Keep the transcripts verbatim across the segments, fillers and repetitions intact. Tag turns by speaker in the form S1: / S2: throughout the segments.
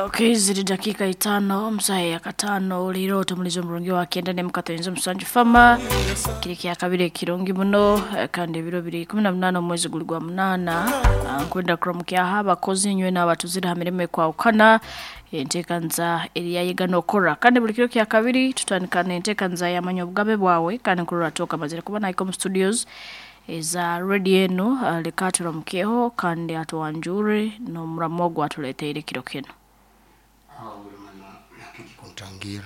S1: Okay, ziri dakika itano omusaha ya katano leero tumuliza omurungi wa kenda nemukatoyinza omusanju fama kiri kya kabiri ekirungi muno eh, kandi ebiro biri kumi na munana omwezi guli gwa munana. Ah, nkwenda kuramukyaha abakozi inywe n'abatuzire ha mirimo ekwawukana enteekanza eriyayega n'okora kandi buli kiro kya kabiri tutandika n'enteekanza yamanya obugabe bwawe kandi nkurora toka mazire kuba naika omu studios eza radio eno. ah, leka turamukeho kandi atuwanjure n'omuramo ogwo atuleteire kiro kino.
S2: Kuntangira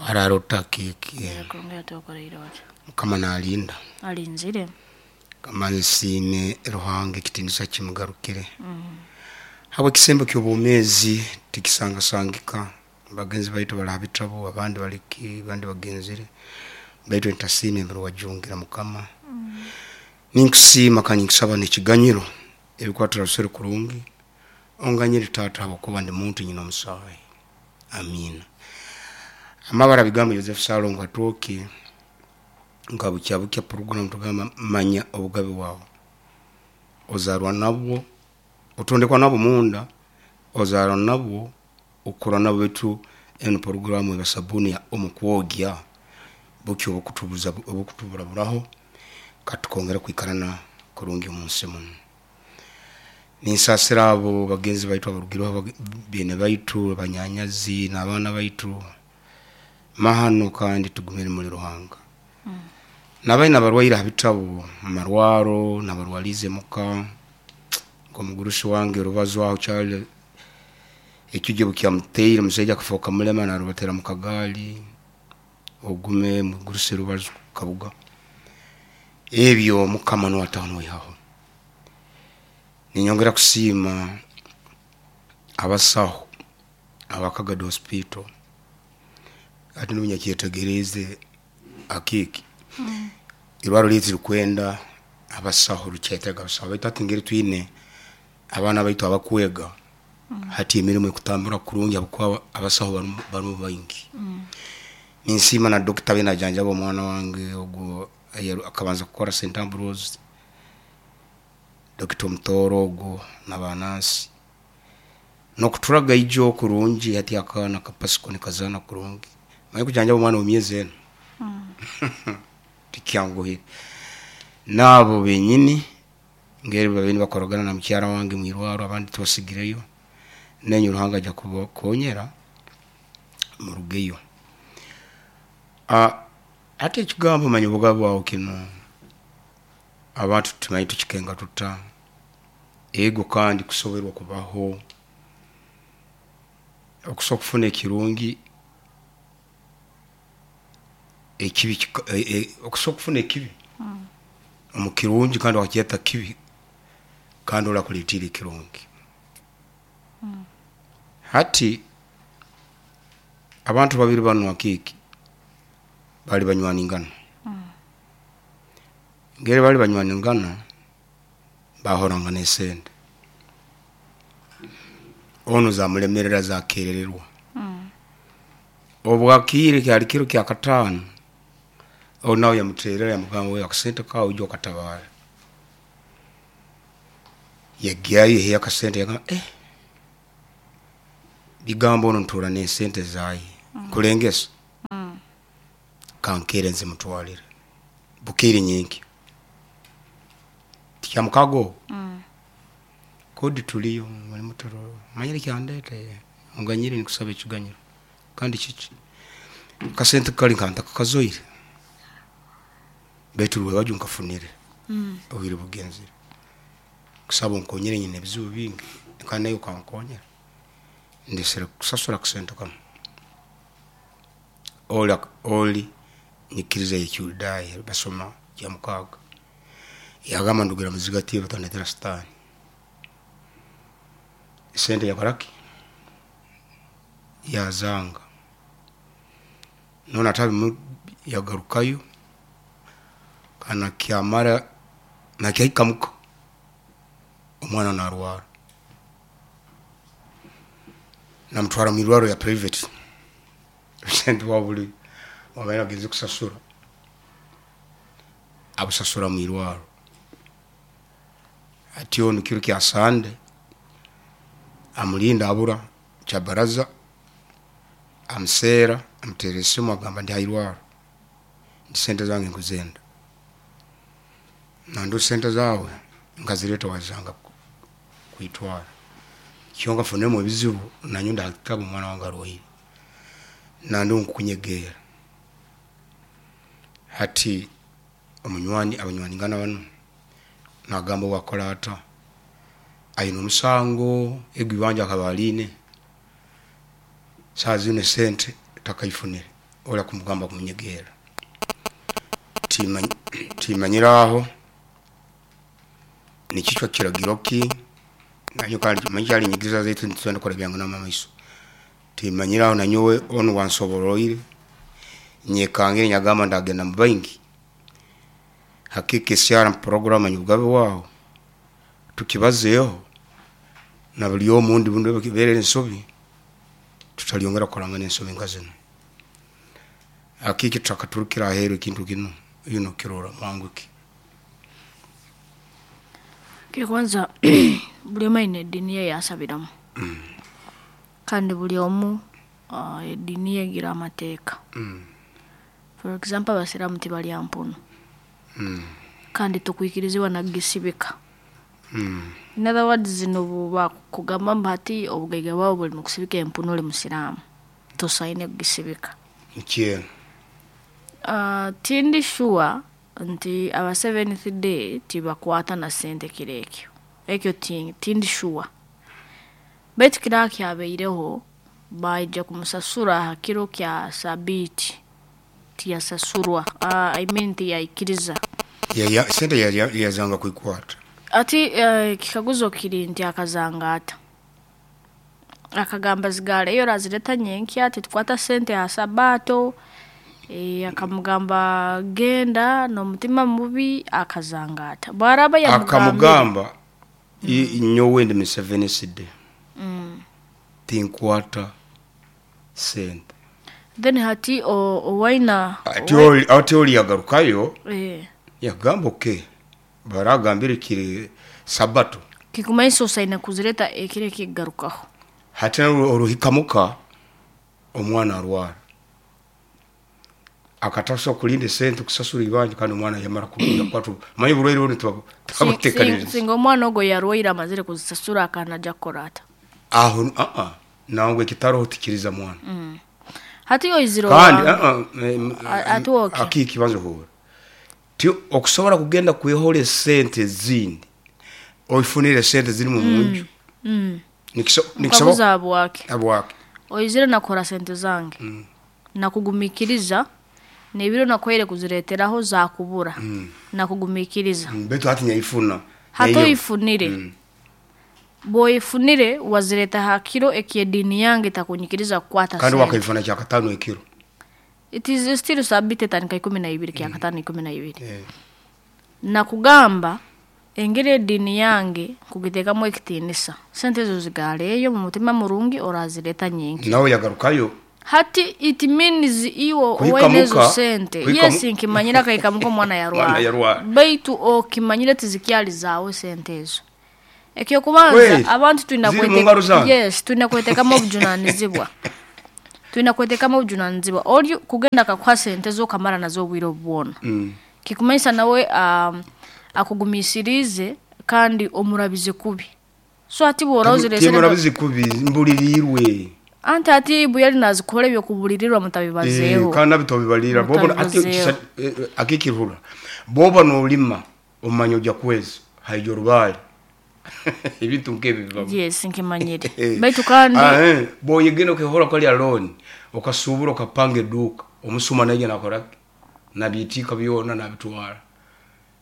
S2: wararota kiki?
S1: Kurungi atokoreire wati?
S2: Mukama nalinda.
S1: Alinzire.
S2: Kama nsiime Ruhanga, ekitinisa kimugarukire habwe ekisembo ky'obwomeezi tikisangasangika. Bagenzi baitu bali ha bitabo, abandi baliki, abandi bagenzire, baitu ntasiima embere wajungira. Mukama, ninkusiima kandi ninkusaba n'ekiganyiro ebikwatira rusere kurungi onganyire taata, habwokuba ndi muntu nyina omusaayi. Amiina. Amabara bigambo Joseph Salongo Atooki. Nka bukya bukya program tugamba manya obugabe bwawe. Ozarwa nabwo, otondekwa nabwo munda, ozarwa nabwo, ukura nabwo. Baitu eno programu eba sabuni ya omukwogya bukya obukutubuza obukutuburaburaho katukongera kwikarana kurungi omunsi muno. Ninsasira abo bagenzi baitu abarugireho, bene baitu, abanyanyazi n'abaana baitu mahano, kandi tugumire muri Ruhanga. Nabaina abarwaire ha bitabo mu marwaro nabarwalize muka, nk'omugurusi wange Rubazo aho kyali ekijjo bukyamuteire omusaija akafoka mulema narubatera mu kagaali. Ogume mugurusi Rubazo Kabuga, ebyo Mukama nuwe ataho noihaho. Ninyongera kusiima abasaho aba Kagadi Hospital. Ati nunyakyetegereze akiki irwaro lyaitu lirikwenda abasaho, rukyetaga abasaho, baitu hati ngeri twine abaana baitu abakwega, hati emirimu ekutambura kurungi habwokuba abasaho barimu barimu baingi. Ninsiima na dokita abe najanjaba omwana wange ogwo akabanza kukora Saint Ambrose, dokita Omutooro ogwo n'abanansi n'okuturaga ijo kurungi. Hati akaana kapasiko nikazaana kurungi. Manye kujanjaba omwana w'emyezi ena tikyanguhire. Naabo benyini ngeri babaire nibakoragana na mukyara wange mwirwaro, abandi tubasigireyo nenye Ruhanga ajja kubakonyera murugeyo. Ah, hati ekigambo manya obugabe bwawe kino abantu tumanyi tukikenga tuta. Ego, kandi kusoberwa kubaho, okusobola okufuna ekirungi ekibi kika- e- e- okusobola okufuna ekibi omu kirungi kandi wakyeta kibi, kandi orakuleetera ekirungi. Hati abantu babiri banu akiiki bali banywaningana. Ngeri bali banywaningana, bahorangana esente, onu zamulemerera, zakerererwa. Obwakiire kyali kiro kya kataano, onu nawe yamuterera yamugamba, "We, akasente kawe ija okatabara." Yagyayo yahiya akasente, yagamba, "Eh, bigambo ono ntura n'esente zaye kulengesa kankere nzimutwalire bukeire nyenkya." Tikyamukago ogwo kodi tuliyo mutoro manyire kyandeta onganyire, nikusaba ekiganyiro. Kandi kiki kasente kali nkantakakazoire, baitu rwebajyo nkafunire obwire bugenzire, kusaba onkonyere, nyine ebizibu bingi kandi nawe okankonyera, ndesere kusasura akasente kanu. Oli oli nyikiriza y'ekiyudaaya, basoma kyamukaaga, yagamba, "Ndugira muzigatiire, otandetera sitaani." Esente yakoraki, yazanga. None atabimu yagarukayo kandi nakyamara nakyahika muka, omwana narwara, namutwara mwirwaro ya private. Sente bwa buli wabaire agenze kusasura, abusasura mwirwaro. Ati onu kiro kya Sande Amulinda abura kyabaraza amuseera amuteera esimu agamba ndi hairwaro nti sente zange nkuzenda nandu sente zawe nkazireta wazanga ku- kwitwara kyonka funemu ebizibu nanyo ndakitaba omwana wange arwaire nandi nkukunyegeera hati omunywani abanywani ngana bano nagamba wakola ata aine omusango egwibanja akaba aline saa zino esente takaifunire ola kumugamba kumunyegeera Timanyi- timanyiraho nikichwa kiragiro ki nanyo kandi manyi kyalinyigiza zaitu nitugenda kukora byange n'amamaiso timanyiraho nanyowe onu wansoboroire nyekangire nyagamba ndagenda mu bangi hakika esyara program nyugabe waho tukibazeeho na buli omundi bundu berera ensobi tutalyongera kukorangana ensobi nka zino hakika tutakaturukira aheru ekintu kino yuno kirora mwanguki
S1: kwanza buli omu aine eddiini ye yasabiramu kandi buli omu ah, eddiini ye egira amateeka. For example, abasiraamu tibalya mpunu kandi tukwikirizibwa nagisibika. In other words, zino bakugamba mbu hati obugaiga bwabo buli mu kusibika empunu, oli musiraamu tosaine kugisibika.
S2: Nikyeno.
S1: Uh, tindi sure nti aba Seventh Day tibakwata na sente kiro ekyo ekyo ti- tindi sure, baitu kira kyabaireho baija kumusasura ha kiro kya sabiiti tiyasasurwa, uh, I mean tiyaikiriza.
S2: Ya- sente ya- yazanga kwikwata.
S1: Ati uh, kikaguzo kiri nti akazanga ata akagamba zigaleyo razireta nyenkya, titukwata sente ha sabato. E, akamugamba genda n'omutima mubi akazanga ata bwaraba yamugambire
S2: Akamugamba i- nyowe ndi Museveni tinkwata sente.
S1: Then hati o- owaina
S2: Ati oli- ati oli yagarukayo
S1: eh,
S2: yagamba oke baragambire kiri sabato.
S1: Kikumaisa osaine kuzireta ekiro ekigarukaho.
S2: Hati narwo oruhikamuka omwana arwara akatasa kulinda esente kusasura ibanja kandi omwana yamara kukwata manyi burwaire buno tubabutekaniriza.
S1: Singa omwana ogwo yarwaire amazire kuzisasura akanaja kukora ata?
S2: Aho aa nangwe ekitaroho tikiriza mwana.
S1: Hati oizire
S2: Kandi
S1: owange.
S2: aa, em,
S1: A- ate oke.
S2: Akikibanza huura ti okusobola kugenda kwehola esente ezindi oifunire esente ziri mu munju Nikiso- nikisoboka
S1: Nkabuza bwake
S2: abwake.
S1: Oizire nakora sente zange nakugumikiriza nebiro nakwaire kuzireteraho zakubura nakugumikiriza.
S2: Mm, betu hati nyaifuna.
S1: Hati
S2: Nyayo.
S1: oifunire bwoifunire wazireta ha kiro ekyediini yange takunyikiriza kukwata
S2: Kandi
S1: sente.
S2: wakaifuna kyakatano ekiro.
S1: It is still sabite etandika ikumi na ibiri kyakatano ikumi na ibiri.
S2: Eh,
S1: Nakugamba engeri ediini yange kugitekamu ekitiinisa sente ezo zigaleeyo mu mutima murungi orazireta nyingi.
S2: Nawe yagarukayo.
S1: Hati it means iwe
S2: Kuhika
S1: owaine ezo
S2: muka,
S1: sente.
S2: kuhika
S1: Yes,
S2: mu-
S1: nkimanyire akahikamuka omwana
S2: Mwana
S1: yarwara
S2: yarwara.
S1: baitu okimanyire tizikyali zaawe sente ezo ekyokubanza
S2: Wait,
S1: abantu twina
S2: ziri mu
S1: kwete-
S2: ngaro zange?
S1: Yes, twina kwetekamu obujunanizibwa twina kwetekamu obujunanizibwa oli kugenda akakuha sente zokamara nazo obwire obwona
S2: Mm.
S1: kikumanyisa nawe um, akugumisirize kandi omurabize kubi so ati bwora ozire sente
S2: Timurabizi kubi mbulirirwe.
S1: Anti ati bu yali nazikora ebyokubulirirwa mutabibazeeho.
S2: Eh, kandi nabitobibalira bobo ati
S1: Mutabibazeeho.
S2: kisa- eh, eh, akikirhura boba nolima omanya ojja kwezi haija orubaale ebintu nkebi bibamu.
S1: Yes, nkimanyire baitu kandi
S2: Ah, eh, boyegenda okehora kwalya loan okasubura okapanga eduka omusuma naija nakora nabiitika byona nabitwara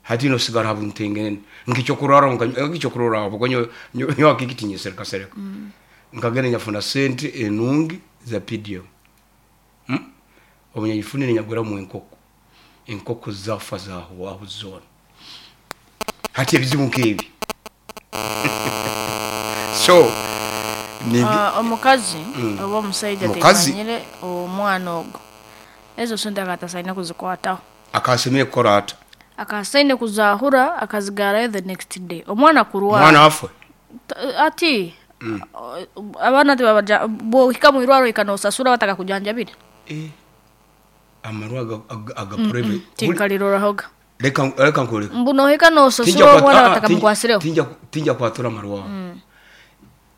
S2: hati nosigara habuntengenene nkikyokurara nkikyokurora aho konyo nyo akikitinyisereka sereka nkagenda nyafuna sente enungi za P D M hmm? Omunyagifunire nyaguramu enkoko enkoko zafa zahwaho zona hati ebizibu nkebi so ni
S1: ah, omukazi oba omusaija
S2: Mukazi.
S1: temanyire omwana ogwo ezo sente akatasaine kuzikwataho.
S2: Akasemire kukora ata?
S1: Akasaine kuzahura akazigarayo the next day omwana kurwara.
S2: Omwana afwe.
S1: Ta- ati Abaana tibabaja bwohika mu irwaro ikanosasura bataka kujanjabira.
S2: Eh. Amarwa aga aga, aga private.
S1: Tinkalirorahoga.
S2: Reka reka nkureka.
S1: Mbu nohika nosasura omwana bataka mukwasireho.
S2: Tinja tinja kwatura amarwa. Mm.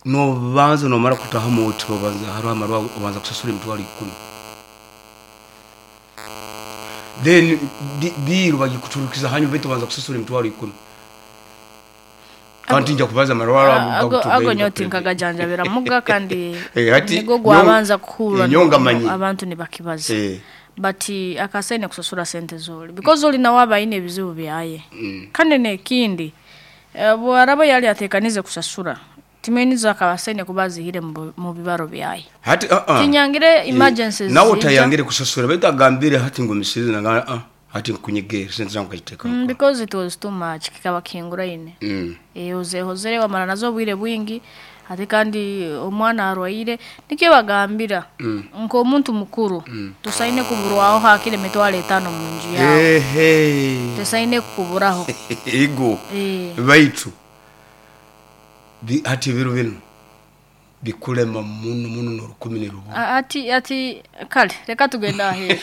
S2: No banza no mara kutaha mu uti banza hariho amarwa obanza kusasura emitwaro ikumi. Then biru bagikuturukiza hanyuma betu banza kusasura emitwaro ikumi. Kandi tinja kubaza amarwa
S1: ago ago nyoti nkagajanjabira muga kandi nigo gwabanza kuhura abantu nibakibaza.
S2: Eh.
S1: But akasaine kusasura sente zoli because zoli nawe abaine ebizibu byaye.
S2: Mm.
S1: Kandi nekindi bwaraba yali atekanize kusasura timeniza akabasaine kubazihire mu bibaro byaye.
S2: Hati uh -uh.
S1: Tinyangire emergencies.
S2: Nawe utayangire kusasura betu agambire hati ngumisize na uh, hati nkunyegere sente zangu kajiteka.
S1: Mm, because it was too much kikaba kingura ine.
S2: Mm.
S1: Eh oze hozere wamara nazo bwire bwingi ate kandi omwana arwaire nikyo bagambira
S2: mm.
S1: nko omuntu mukuru
S2: mm.
S1: tusaine kuburwaho hakire mitwaro etano mu nju yawe.
S2: Ehe.
S1: Tusaine kuburaho.
S2: Ego.
S1: Eh.
S2: Baitu bi hati biru bino bikulema muno muno no rukumi ne rubu.
S1: Ati ati kale reka tugenda ahera.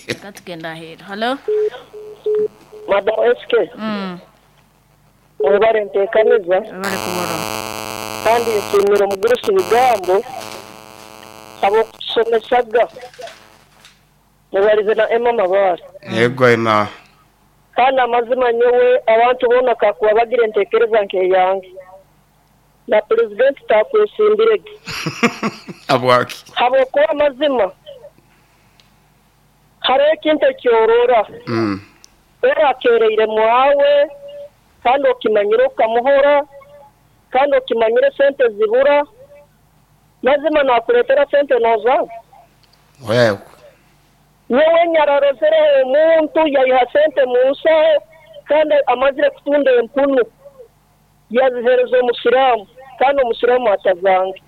S1: Reka tugenda ahera. Hello.
S3: Madam S K.
S1: Mm.
S3: Mwebare ntekaniza.
S1: Mwebare kubora.
S3: Kandi nshimira omugurusi bigambo abo kusomesaga. Mwebarize na Emma Mabara.
S2: Yego Emma.
S3: Kandi amazima nyowe abantu bona kakuba bagira entekereza nkeyange. Na president takwesimbirege.
S2: Abwaki.
S3: Habo kuba amazima. Hariho ekintu ekyorora.
S2: Mm.
S3: Era akereire mwawe kandi okimanyire okamuhora kandi okimanyire sente zibura mazima nakuletera sente noza.
S2: Wewe.
S3: Nyowe nyararozere omuntu yayiha sente mu nsaho kandi amazire kutunda empunu yazihereza omusiramu kandi omusiramu atazange.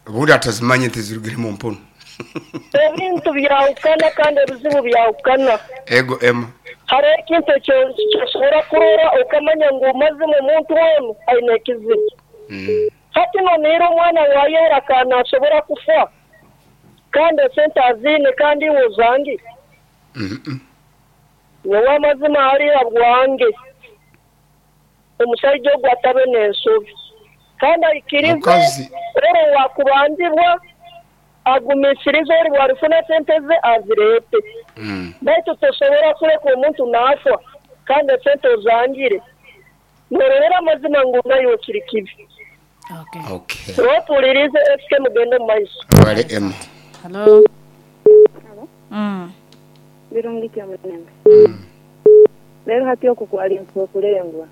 S2: Ubundi atazimanye tizirugire mu mpunu.
S3: Ebintu byawukana kandi ebizibu byawukana.
S2: Ego Emma.
S3: Hariho ekintu ekyosobora kurora okamanya ngu mazima omuntu wenu aine ekizibu.
S2: Mm.
S3: Hati noniira omwana wayera kana asobora kufa kandi esente azine kandi iwe ozangire.
S2: Mm -mm.
S3: Nyowe amazima hariya bwange omushaija ogwo atabe n'ensobi kandi aikirize oro wakubandibwa agumisirize ori bwarifuna sente ze azirete.
S2: Mm.
S3: Baitu tosobora kureka omuntu naafa kandi esente ozangire. Nororera amazima ngu nayo kiri kibi.
S1: Okay.
S2: Okay.
S3: Tupulirize S K mugende mu maiso.
S2: Wale Emma.
S1: Hello.
S4: Hello.
S1: Mm.
S4: Birungi kya munembe.
S2: Mm.
S4: Lero hati okukwali nkukulengwa.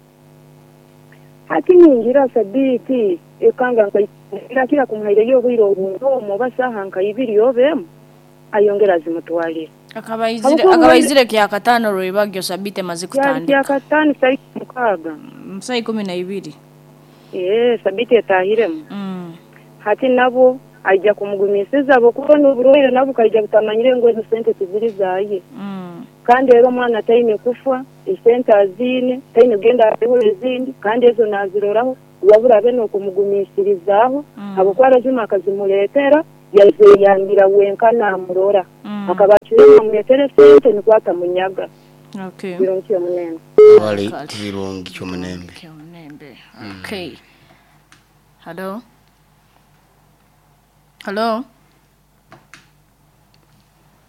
S4: Hati ningira sabiti ekanga nkaira kila kumuhaire obwire obuntu basaha nkaibiri obemu ayongera zimutwalira.
S1: Akabaizire akabaizire kya katano rwibagyo sabite mazi kutandika.
S4: Kya katano sai mukaga.
S1: Msai kumi na ibiri.
S4: Eh sabiti etahiremu.
S1: Mm.
S4: Hati nabo aija kumugumisiza abo kubona oburwaire nabo kaija butamanyire ngo ezo sente tiziri zaye.
S1: Mm.
S4: Kandi rero omwana taine kufa esente azine taine genda ariho ezindi kandi ezo naziroraho wabura bene okumugumisirizaho
S1: mm.
S4: abo kwarazima akazimuletera yazeyambira wenka namurora
S1: mm.
S4: akabakire amuletere sente nikwata munyaga.
S1: Okay.
S4: Birungi omunembe.
S2: Wale birungi kyomunembe.
S1: Kyomunembe. Okay. Hello. Hello.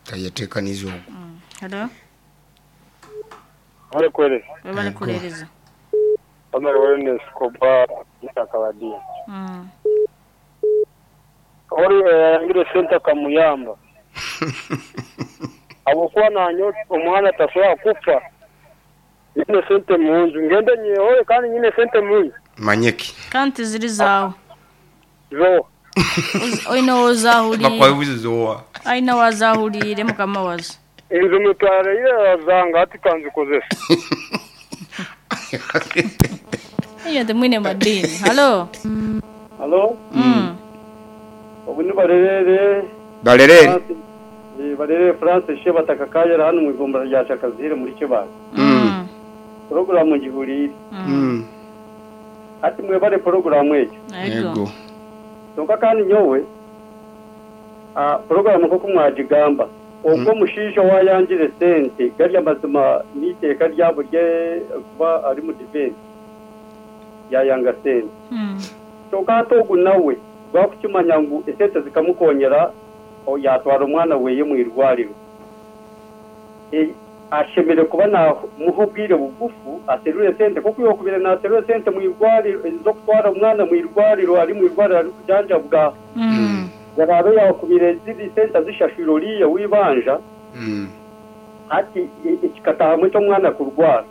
S2: Tayetekanizo.
S1: Mm. Hello.
S5: Wale kwele.
S1: Wale kulereza.
S5: Omar Wellness koba ntakabadi.
S1: Mm.
S5: Ori ngire senta kamuyamba. Abo kwa nanyo omwana tasobola kufa. Nyine sente munju ngende nyehoye kandi nyine sente munju.
S2: Manyeki.
S1: Kanti ziri zawo.
S5: Zo.
S1: Oina wazahulire.
S2: Bakwabuze zowa.
S1: Aina wazahulire mukama wazo.
S5: Inzu mutwara ile zanga ati kanzikozesa.
S1: Iyo ndi mwine madini. Hello.
S5: Hello.
S1: Mm.
S5: Obu barerere.
S2: Barerere.
S5: Ni barerere France sheba takakayera hano mu igomba rya Shakazire muri Kibale.
S2: Mm.
S5: Program ngihurire.
S2: Mm.
S5: Ati mwebale porogaramu ekyo.
S1: Ego.
S5: Kyonka kandi nyowe ah porogaramu nk'oku mwagigamba ogwo mushiisha wayangire sente gari amazima n'iteeka ryabo rye kuba ari mu defense yayanga sente. Kyonka hati ogu nawe gwakukimanya ngu esente zikamukonyera yatwara omwana weye mu irwariro. E, ashemere kuba namuha obwire bugufu aserure sente kuko yokubire naserure sente mu irwariro zo kutwara omwana mu irwariro ari mu irwariro ari kujanjabwa.
S1: Mm.
S5: Yarabe yakubire ziri sente zishashura oriya wibanja.
S2: Mm.
S5: Ati ekikatahamwe ky'omwana kurwara.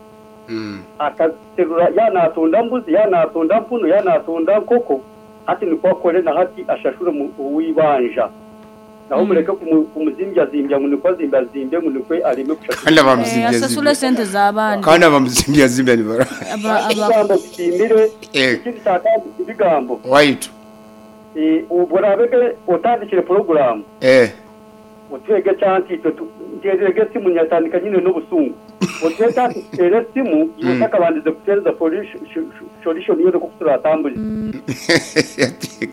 S2: Mm.
S5: Akaserura yanatunda mbuzi yanatunda mpunu yanatunda nkoko ati niko akore na hati ashashure mu wibanja. Naho mureke kumuzimbya zimbya ngo niko zimbya zimbye ngo niko arime kushashura.
S2: Kandi abamuzimbya
S1: asasule sente z'abandi.
S2: Kandi abamuzimbya zimbya ni bara.
S1: Aba
S5: aba zimbire ikindi cyakandi ibigambo.
S2: Waitu.
S5: Eh uburabege otandikire program.
S2: Eh.
S5: Utwege cyanti twe ngerege simu nyatandika nyine n'ubusungu. Utwege cyanti ere simu yutakabandize kutereza solution yo kuturatambuje.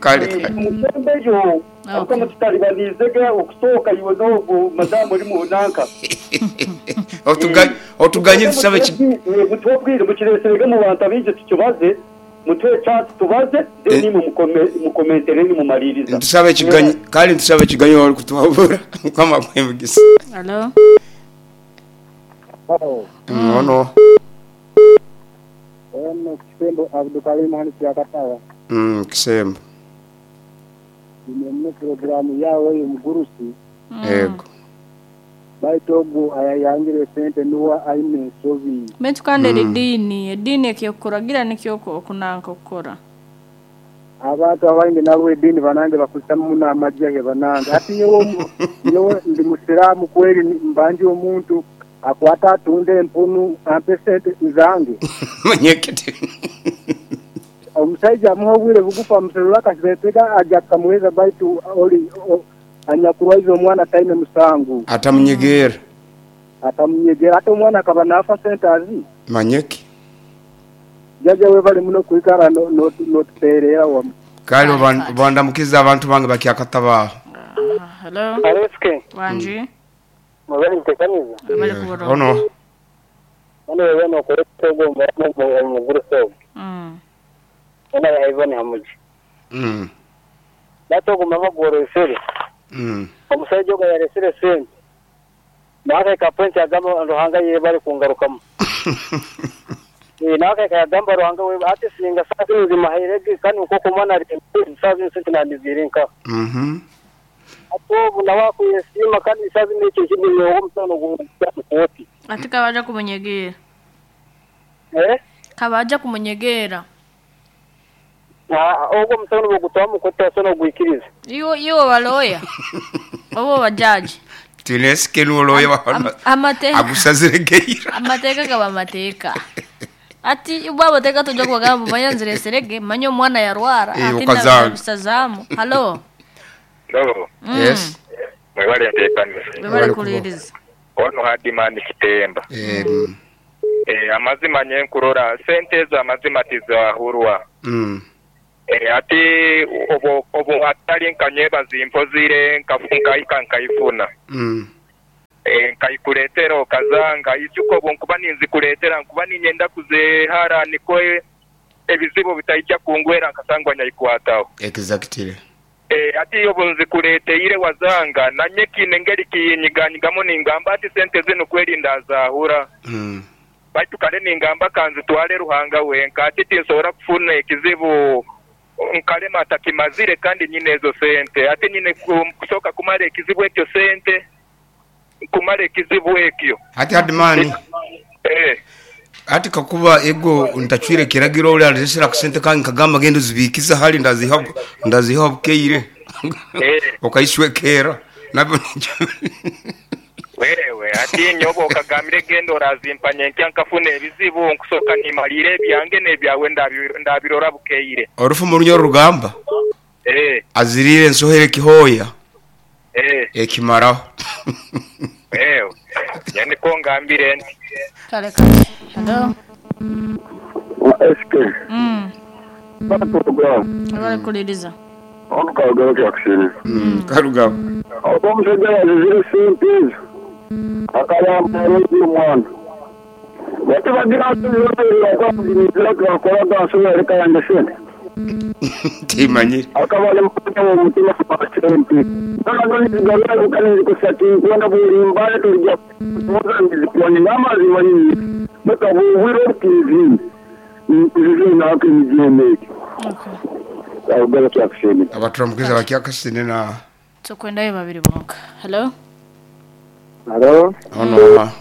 S2: Kale kale.
S5: Musembeyo ako mutalibanizege okusoka iwe nogo madamu uri mu nanka.
S2: Otuganye otuganye tusabe
S5: mutwobwire mukireserege mu bantu abije tukibaze mutwe cyanti tubaze then mukomentere ni mumaririza.
S2: Tusabe kiganyi kandi tusabe kiganyi wali kutuhabura kama kwemugisa.
S1: Hello.
S6: Oh.
S2: No no.
S6: Ono Kisembo Abdulkarim hani Kyakataba.
S2: Mm Kisembo.
S6: Nimwe programu yawe y'umugurusi.
S2: Yego.
S6: Baitogu ayayangire sente nuwa aine sobi.
S1: Mentu kandi mm. Edini, edini ekyokoragira nikyoko okunanka okukora.
S6: Abantu abaingi nabo edini banange bakusamu na amajahe banange. Ati nyowe nyowe ndi musiramu kweli mbanje omuntu akwata atunde empunu ampe sente zange.
S2: Manyekete.
S6: Omusajja amuha obwire bugufu amuserura akasibetega ajja kamuheza baitu oli anyakurwaiza omwana taine musangu.
S2: Atamunyegera.
S6: Atamunyegera ate omwana akaba nafa sente azi.
S2: Manyeki.
S6: Jaja we bali muno kuikara no no notuterera wamu.
S2: Kale bandamukiza abantu bange bakyakatabaho.
S1: Hello.
S5: Aleske.
S1: Wanji.
S5: Mubali ntekaniza.
S1: Bali kuboro.
S2: Ono.
S5: Ono wewe no koretego mu
S1: Mm.
S5: Ona yaibone hamuji.
S2: Mm.
S5: Batogo mama gworesere.
S2: Mm.
S5: Omusajja ogo yaresere sente. Nawe ka point agamba Ruhanga ye bali kungarukamu. Eh nawe ka agamba Ruhanga we ati singa sazi nzima hairege kandi uko kumana ari sazi sente nandizirinka.
S2: Mhm.
S5: Atobu nawe kuyesima kandi sazi n'icyo kintu yo omusano gukoti.
S1: Ati kabaja kumunyegera.
S5: Eh?
S1: Kabaja kumunyegera.
S5: Ah ogo musano bugutwa mukoti asono gwikiriza.
S1: Iyo iyo baloya. Obo bajaji.
S2: Tineske nuloya bahana.
S1: Amateka.
S2: Agusaziregeira.
S1: Amateka kaba amateka. Ati ubabo teka tuja kubagamba manyanzire serege manyo mwana yarwara
S2: ati
S1: ndabisazamu. Hello.
S7: Hello.
S1: Mm.
S2: Yes.
S7: Mwebale ntekanisa.
S1: Mwebale kuliriza.
S7: Ono hadimani Kitemba.
S2: Eh.
S7: Eh amazima nyenkurora sente za amazima tizahurwa.
S2: Mm.
S7: Eh ati obo obo atali nkanyeba zimpozire nkafunka ikankaifuna.
S2: Mm.
S7: Eh nkayikuletera okazanga ijuko bonkuba ninzikuletera nkuba ninyenda kuzehara niko ebizibu bitaijja kungwera nkasangwa nyayikwataho.
S2: Exactly.
S7: Eh ati yo bunzikulete ile wazanga nanye kinengeri kinyiganyigamo ningamba ati sente zino kwerinda zahura.
S2: Mm.
S7: Baitu kale ningamba kanzi twale Ruhanga wenka ati tinsobola kufuna ekizibu nkalema atakimazire kandi nyine ezo sente ate nyine kusoka kumara ekizibu ekyo sente kumara ekizibu ekyo
S2: ati hadimani
S7: eh
S2: ati kakuba ego ntachwire kiragiro uli alizesera kusente kangi kagamba gendo zibikiza hali ndaziha ndaziha bukeire
S7: eh
S2: okaishwekera nabyo
S7: wewe ati nyobo okagambire gendo orazimpanye nkyankafuna ebizibu nkusoka nimalire ebyange nebyawe ndabirora bukeire
S2: orufu mu runyo rugamba
S7: eh
S2: azirire nsohere kihoya
S7: eh
S2: ekimaraho
S7: eh yani ko ngambire nti
S1: kale kale hello
S5: wa S K
S1: mm Abarikuliriza.
S6: Omukago kyakushiriza.
S2: Mm, karugabo
S6: Ogwo omushaija yazizire sente ezo akayamba omwana. Bati bagira nti twakoraga nsobola leka yange sente.
S2: Timanyire.
S6: Akaba ali mukanya w'omutima gwa sente. None nizigarura kukanizikusa tinkwenda bulimbale tulijja kuza nizikuwani n'amazima nyini. Bakabuubwira obukiizini. Nkuzize nako emigyemeke.
S1: Okay.
S6: Karugabe kyakushemera.
S2: Abaturamukiza bakyakasine na
S1: Tukwendayo babiri bonka. Hello.
S6: Halo?
S2: ono ha.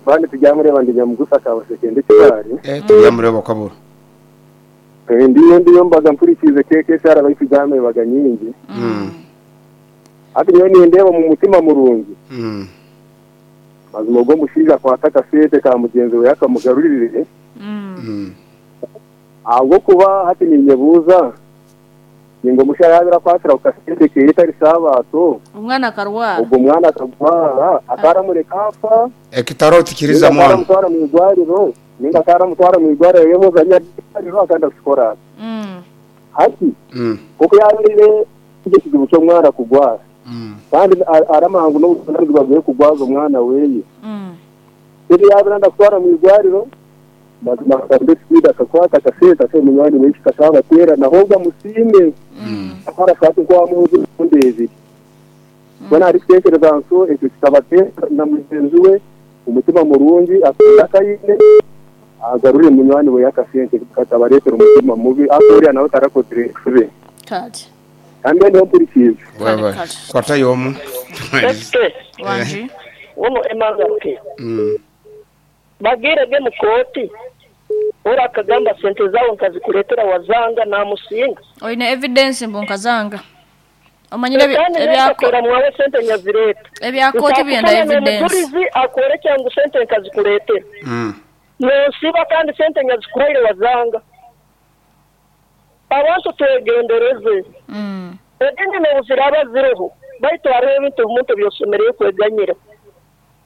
S6: Bandi tujamureba ndi nyamugusa kabaseke kibari.
S2: Eh tujamureba kabura.
S6: Ndiyo ndiyo mbaga mpurikize keke sara bayitujame baga nyingi.
S2: Mm.
S6: Ati niyo nindeba mu mutima murungi.
S2: Mm.
S6: Mazima ogwo mushiija akwata akasente ka mugenzi we akamugarurire.
S1: Mm.
S2: Mm.
S6: Ahubwo kuba hati ninyebuuza ningo musha yabira akwatira ku kasente keye tari sabato
S1: Umwana akarwara.
S6: ogwo mwana akagwara akaramureka afa
S2: Ekitaro tikiriza
S6: ninga
S2: mwana.
S6: akaramutwara mu igwariro ninga akaramutwara mu igwariro yemuza nyariro akanda kusikora
S1: Mm.
S6: hati
S2: Mm.
S6: kuko yabirire icyo kizibu cy'omwana kugwara
S2: Mm.
S6: kandi a- aramangu n'obutunanizibwa bwe kugwaza omwana weye
S1: Mm.
S6: rero yabira ndakutwara mu igwariro mazima akagamba speed akakwata akasente ate munywani we kikasabatera naho amusime
S2: Mm.
S6: akora shati nko wamuhuza emirundi ebiri mbona ari kutekereza nso ekyo kikabatera na mugenzi we umutima murungi akunda akayine agarurire munywani we akasente katabaretera umutima mubi akuriya nawe tarakozire enshobe
S1: Kati.
S6: kandi niho mpurikize
S2: Wewe.
S1: Kale.
S2: Kwata yomu.
S3: Ese
S1: Wanji.
S3: uno emangake
S2: Mm.
S3: bagirege mu koti ora akagamba sente zawe nkazikuretera wazanga namusinga
S1: Oine evidence mbunkazanga. Omanyire ebi-
S3: kandi
S1: ebyako
S3: nekakera mwawe sente nyazireta
S1: ebyakoti byenda evidence.
S3: Omujulizi akworekya ngu sente nkazikuretera
S2: Mm.
S3: nonsiba kandi sente nyazikuhaire wazanga abantu twegendereze
S1: Mm.
S3: edini nobuziraba ziriho baitu hariho ebintu omuntu byosemereire kweganyira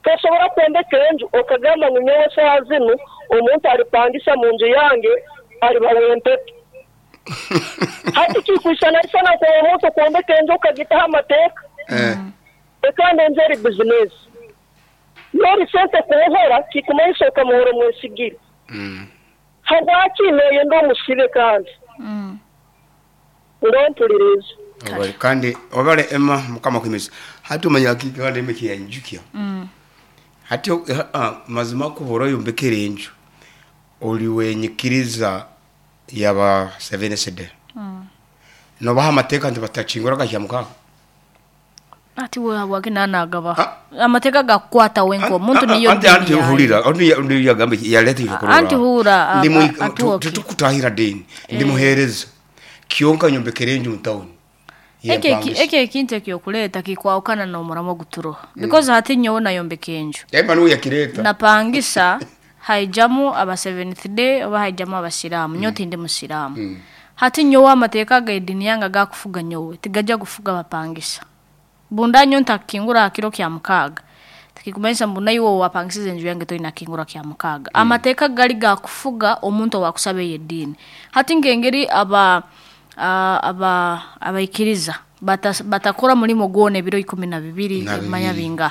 S3: tosobora kwombeka enju okagamba ngu nyowe saaha zinu omuntu alipangisa mu nju yange aliba wempepe hati kikwisanaisana kwa omuntu kwombeka enju okagitaho amateeka
S2: Eh.
S3: ekandi enju eri bizinesi nori sente kuhora kikumanyisa okamuhora omwesigire
S2: Mm.
S3: habwaki noyenda omusibe kandi
S1: Mm.
S3: ngompuliriza
S2: Obale kandi obale Emma mukama kwimisa. Hati umanya kikande emeki yanjukia.
S1: Mm.
S2: Hati uh, mazima kubora yombekere enju. Oli wenyikiriza yaba seven C D.
S1: Mm.
S2: Nobaha amateeka nti batachingura kakyamuka.
S1: Ati we wagina nagaba.
S2: Ah.
S1: Amateeka gakukwata wenko omuntu niyo
S2: anti anti
S1: dini yayo.
S2: hulira anti ndi yagambe yaleta ikikorora.
S1: Anti hura,
S2: Ndi mu
S1: a- atuoke.
S2: tukutahira deni. Ndi muhereza. Kionka nyombekere enju mu town.
S1: Eke eke ekintu ekyokuleeta kikwawukana n'omuramo guturoha because hati nyowe nayombeka enju
S2: Emma niwe yakireta.
S1: napangisa haijamu aba seventh day oba haijamu abasiraamu nyowe tindi musiraamu hati nyowe amateeka g'edini yange gakufuga nyowe tigajja kufuga abapangisa bunda nyo ntakingura aha kiro kya mukaaga tikikumanyisa mbu naiwe wapangisize enju yange toina kingura kya mukaaga amateeka gali gakufuga omuntu owakusaba eyo eddiini hati ngengeri aba a- aba abaikiriza bata- batakora mulimo gwona ebiro ikumi na bibiri
S2: Na
S1: ebimanya
S2: bibiri.
S1: binga